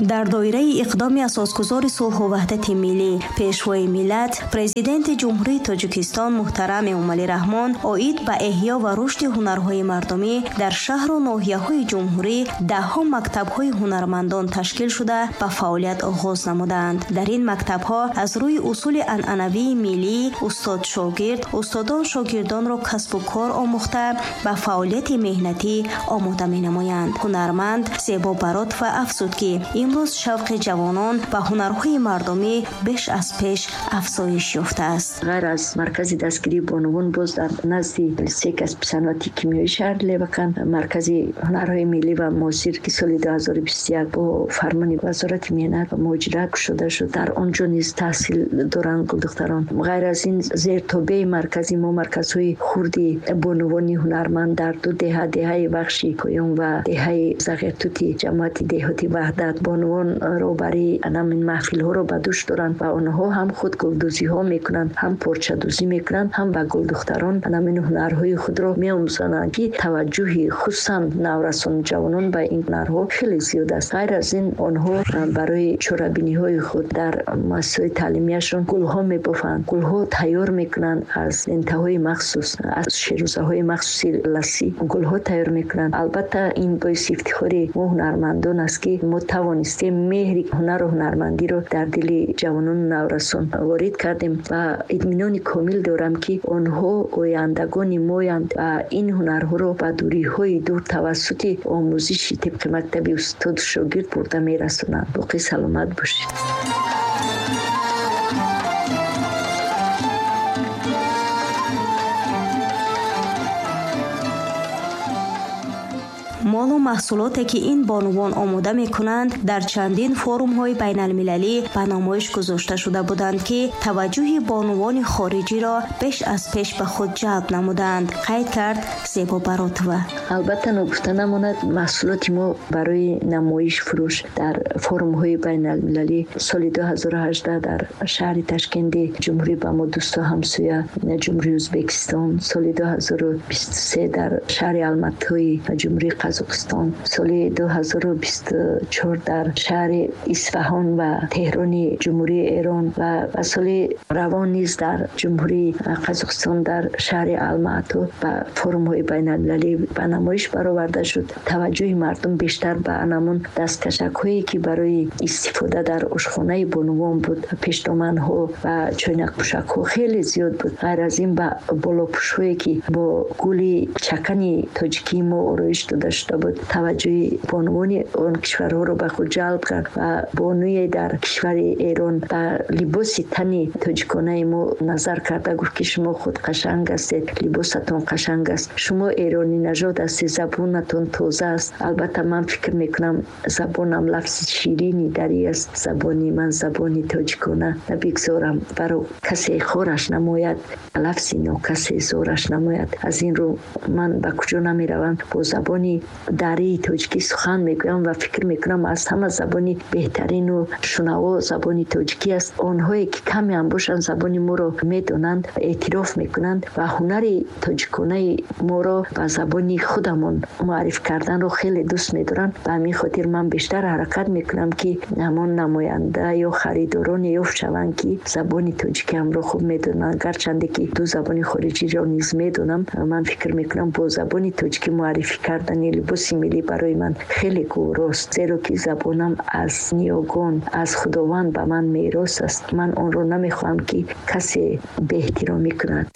Дар доираи иқдоми асосгузори сулҳу ваҳдати миллӣ, Пешвои миллат, Президенти Ҷумҳурии Тоҷикистон муҳтарам Эмомалӣ Раҳмон оид ба эҳё ва рушди ҳунарҳои мардумӣ дар шаҳру ноҳияҳои ҷумҳурӣ даҳҳо мактабҳои ҳунармандон ташкил шуда ба фаъолият оғоз намуданд. Дар ин мактабҳо аз рӯи усули анъанавии миллӣ устод-шогирд, устодон шогирдонро касбу кор омӯхта ба фаъолияти меҳнатӣ омода менамоянд. Ҳунарманд Зебо Баротова афзуд, ки имрӯз шавқи ҷавонон ба ҳунарҳои мардумӣ беш аз пеш афзоиш ёфтааст. Ғайр аз маркази дастгирии бонувон, боз дар назди литсей касби саноати кимиёии шаҳри Левакант маркази ҳунарҳои миллӣ ва муосир, ки соли 2021 бо фармони Вазорати меҳнат ва муҳоҷират кушода шуд, дар он ҷо низ таҳсил доранд гулдухтарон. Ғайр аз ин, зертобеи маркази мо марказҳои хурди бонувони ҳунарманд дар ду деҳа, деҳаи Вахши Поён ва деҳаи Зағиртути ҷамоати деҳоти Ваҳдат, бонувон роҳбарии ҳамин маҳфилҳоро ба дӯш доранд ва онҳо ҳам худ гулдӯзиҳо мекунанд, ҳам порчадӯзӣ мекунанд, ҳам ба гулдухтарон ҳамин ҳунарҳои худро меомӯзонанд, ки таваҷҷӯҳи хусусан наврасон ҷавонон ба ин ҳунарҳо хеле зиёд аст. Ғайр аз ин, онҳо барои чорабиниҳои худ дар муассисаҳои таълимияшон гулҳо мебофанд, гулҳо тайёр мекунанд аз лентаҳои махсус, аз шерӯзаҳои махсуси лассӣ гулҳо тайёр мекунанд. Албатта, ин боиси ифтихори мо ҳунармандон аст, ки мо тавонистем меҳри ҳунару ҳунармандиро дар дили ҷавонону наврасон ворид кардем ва итминони комил дорам, ки онҳо ояндагони моянд ва ин ҳунарҳоро ба дуриҳои дур тавассути омӯзиши тибқи мактаби устоду шогирд бурда мерасонанд. Боқӣ саломат бошед. Молу маҳсулоте, ки ин бонувон омода мекунанд, дар чандин форумҳои байналмилалӣ ба намоиш гузошта шуда буданд, ки таваҷҷӯҳи бонувони хориҷиро беш аз пеш ба худ ҷалб намуданд, қайд кард Зебо Баротова. Албатта, ногуфта намонад, маҳсулоти мо барои намоиш фурӯш дар форумҳои байналмилалӣ соли 2018 дар шаҳри Ташкенти ҷумҳурӣ ба мо дӯсту ҳамсоя ҷумҳурии Ӯзбекистон, соли 2023 дар шаҳри Алматои ҷумҳурии Қазоқистон, соли 2024 дар шаҳри Исфаҳон ва Теҳрони ҷумҳурии Эрон ва соли равон низ дар ҷумҳурии Қазоқистон дар шаҳри Алмато ба форумҳои байналмилалӣ ба намоиш бароварда шуд. Таваҷҷӯҳи мардум бештар ба анамун дасткашакҳое, ки барои истифода дар ошхонаи бонувон буд, пешдоманҳо ва чойнакпӯшакҳо хеле зиёд буд. Ғайр аз ин, ба болопӯшҳое, ки бо гули чакани тоҷикии мо ороиш дода шуда буд, таваҷҷӯҳи бонувони он кишварҳоро ба худ ҷалб кард ва бонуе дар кишвари Эрон ба либоси тани тоҷиконаи мо назар карда гуфт, ки шумо худ қашанг ҳастед, либосатон қашанг аст, шумо эронӣ нажод ҳастед, забонатон тоза аст. Албатта, ман фикр мекунам, забонам лафзи ширини дарӣ аст, забони ман забони тоҷикона, набигзорам баро касе хораш намояд, лафзи нокасе зораш намояд. Аз ин рӯ ман ба куҷо намеравам, бо забони дарии тоҷикӣ сухан мегӯям ва фикр мекунам, аз ҳама забони беҳтарину шунаво забони тоҷикӣ аст. Онҳое ки каме ҳам бошанд забони моро медонанд, эътироф мекунанд ва ҳунари тоҷиконаи моро ба забони худамон муарриф карданро хеле дӯст медоранд. Ба ҳамин хотир ман бештар ҳаракат мекунам, ки ҳамон намоянда ё харидороне ёфт шаванд, ки забони тоҷикиамро хуб медонанд. Гарчанде ки ду забони хориҷиро низ медонам, ман фикр мекунам, бо забони тоҷикӣ муаррифӣ кардани либоси миллӣ барои ман хеле гуворост, зеро ки забонам аз ниёгон, аз Худованд ба ман мерос аст. Ман онро намехоҳам, ки касе беэҳтиромӣ кунад.